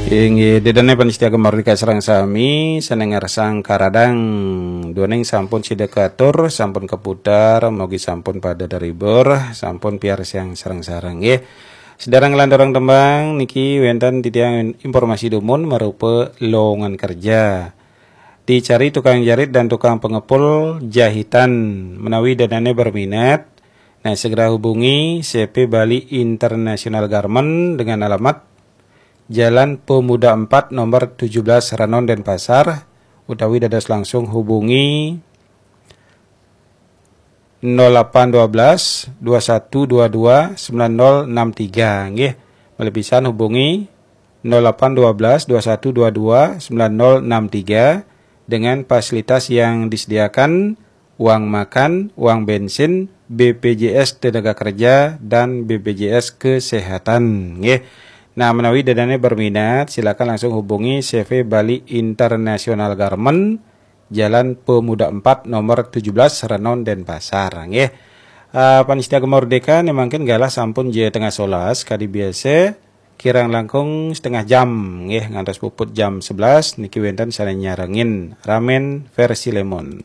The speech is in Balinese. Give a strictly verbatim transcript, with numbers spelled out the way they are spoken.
Inggih, ida dané pamiarsa Gema Merdeka sareng sami, sané ngersang karadang. Duaning sampun sida katur, sampun kaputar, mugi sampun pada terhibur, sampun piarsang sareng-sareng nggih. Sedaya nglanturang tembang niki wénten titiang informasi dumun marupa lowongan kerja. Dicari tukang jahit dan tukang pengepul jahitan menawi ida dané berminat. Nah, segera hubungi C P Bali International Garment dengan alamat Jalan Pemuda empat nomor tujuh belas Renon Denpasar, utawi dados langsung hubungi nol delapan dua belas dua satu dua dua sembilan nol enam tiga nggih. Malih pisan hubungi nol delapan dua belas dua satu dua dua sembilan nol enam tiga dengan fasilitas yang disediakan uang makan, uang bensin, B P J S tenaga kerja, dan B P J S kesehatan. Nggih. Nah, menawi ida dané berminat, silakan langsung hubungi C V Bali International Garment, Jalan Pemuda empat, nomor tujuh belas, Renon, Denpasar. Nggih. Uh, pamiarsa Gema Merdeka, né mangkin galah sampun jam tengah sebelas, kadi biasa, kirang langkung setengah jam, nggih, ngantos puput jam sebelas, niki wénten sané nyarengin Ramen versi Lemon.